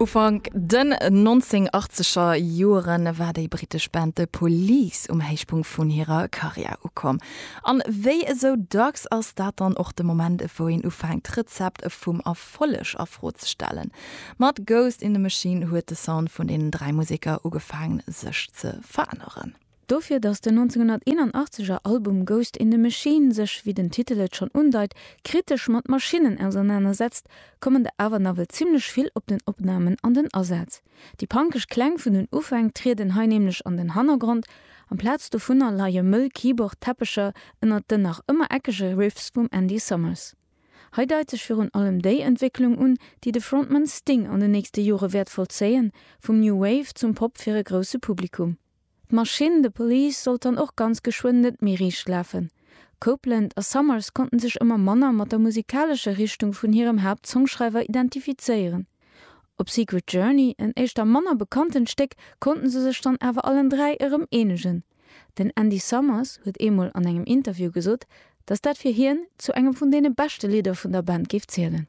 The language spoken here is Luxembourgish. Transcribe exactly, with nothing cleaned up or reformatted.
Ufank den nonzénghonnertachzeger Joren war déi brittesch Band The Police um Héichpunkt vun hirer Karriär ukomm. An wéi esou dacks ass dat dann och de Moment, wou een ufänkt d'Rezept vum Erfolleg a Fro ze stellen. Mat Ghost in the Machine huet de Sound vun den dräi Museker ugefaangen sech ze veränneren. Dofir, datt den nonzénghonnerteenanachzeger Album Ghost in the Machine sech, wéi den Titel et schonn undeit, kritesch mat Maschinnen ausernanersetzt, kommen der awer nawell zimmlech vill op den Opnamen an den Asaz. Déi punkeg Kläng vun den Ufäng trieden hei nämlech an den Hannergrond, amplaz dovunner leie mëll Keyboard-Teppecher ënnert den nach ëmmer eckege Riffs vum Andy Summers. Hei deit sech virun allem déi Entwécklung un, déi de Frontman Sting an den nächste Jore wäert vollzéien, vum New Wave zum Pop fir e grousse Publikum. D'Maschinn The Police sollt dann och ganz geschwënn net méi riicht lafen. Copeland a Summers konnten sech ëmmer manner mat der musikalescher Richtung vun hirem Haaptsongschreiwer identifizéieren. Op Secret Journey, en éischter manner bekanntent Stéck, konnten se sech dann awer allen dräi erëm eenegen. Den Andy Summers huet eemol an engem Interview gesot, datt dat fir hien zu engem vun deene beschte Lidder vun der Band géif zielen.